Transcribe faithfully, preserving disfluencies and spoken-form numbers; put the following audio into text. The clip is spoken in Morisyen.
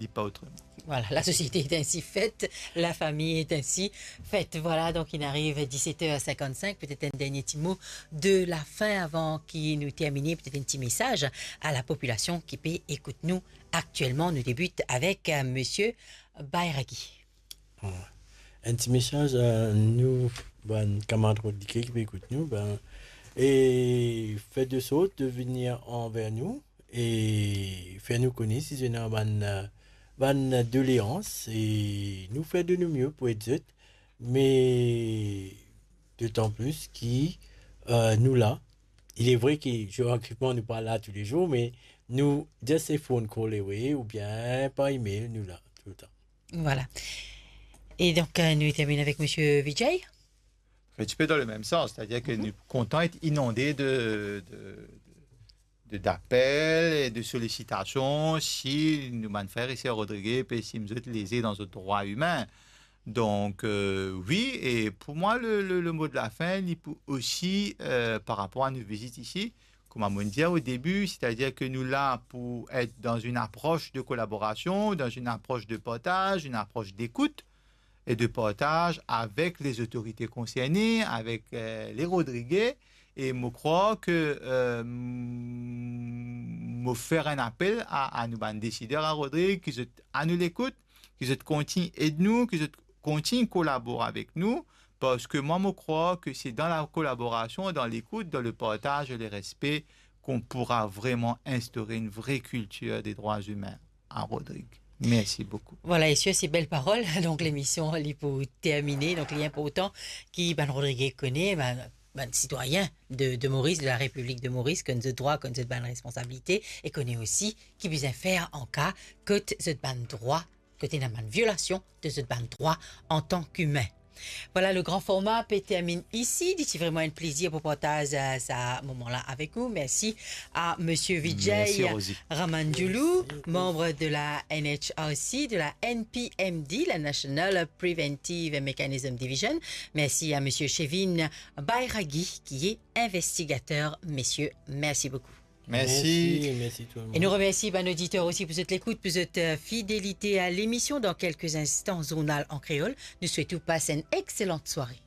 li pa otreman. Voilà, la société est ainsi faite, la famille est ainsi faite. Voilà, donk inn ariv diset er sinkant-sink, petet enn dernie ti mo de la fin avan ki nou termine, petet enn ti mesaz a la popilasion ki pe ekout nou aktielman. Nou debit avek, euh, Misie Bayraghi. Bon. Enn ti mesaz, euh, nou, bann kamarad Rodrige ki pe ekout nou, ben, e fer de sort de vini anver nou, e fer nou kone si zot ena bann, euh, bann doleans, e nou fer de nou mie pou ed zot, me dotan plis ki, euh, nou la. Il est vrai ki zeografikman nou pa la toulezour, me nou just a phone call away oubien par email, nou la toultan. Voilà. E donk, euh, nou termine avek Misie Vijay. Un petit peu dans le même sens, c'est-à-dire que nous comptons être inondés de, de, de, d'apels et de sollicitations si nou bann frer e ser Rodrige pe estim zot leze dan zot drwa imin. Donc, euh, oui, et pour moi, le, le, le mot de la fin, li pou osi, euh, par rapport à nou vizit isi, kouma mo'nn dir o debi, c'est-à-dire que nou la pou être dans une approche de collaboration, dans une approche de partage, une approche d'écoute et de partage avec les autorités concernées, avec, euh, les Rodriguais. E mo krwar ke, euh, mo fer enn apel a, a nou bann desider a Rodrig, ki zot a nou lekout, ki zot kontign ed nou, ki zot kontign kolabor avek nou, parski mwa, mo krwar ke se dan la kolaborasion, dan lekout, dan le partaz e le respe, qu'on pourra vraiment instaurer une vraie culture des droits humains à Rodrig. Merci beaucoup. Voilà, e sir se bel parol, donk lemision li pou termine. Donk li inportan ki bann Rodrige kone, bann, bann sitwayin de, de Moris, de la Repiblik de Moris, konn zot drwa, konn zot bann responsabilite, e kone osi ki bizin fer an ka kot zot bann drwa, kot ena bann violasion de zot bann drwa antan ki imin. Voilà, le grand format pe termine isi. Li ti vreman enn plezir pou partaz, euh, sa moman la avek ou. Mersi a Misie Vijay Ramanjulu, manb de la N H R C, de la N P M D, la National Preventive Mechanism Division. Mersi a Misie Chevin Bayraghi, ki e investigater. Misie, mersi boukou. Mersi. Mersi, mersi tou lemonn. E nou remersi bann oditer osi pou zot lekout, pou zot, euh, fidelite a lemision. Dan kelke instan, zournal an kreol. Nou swet ou pas enn exselant sware.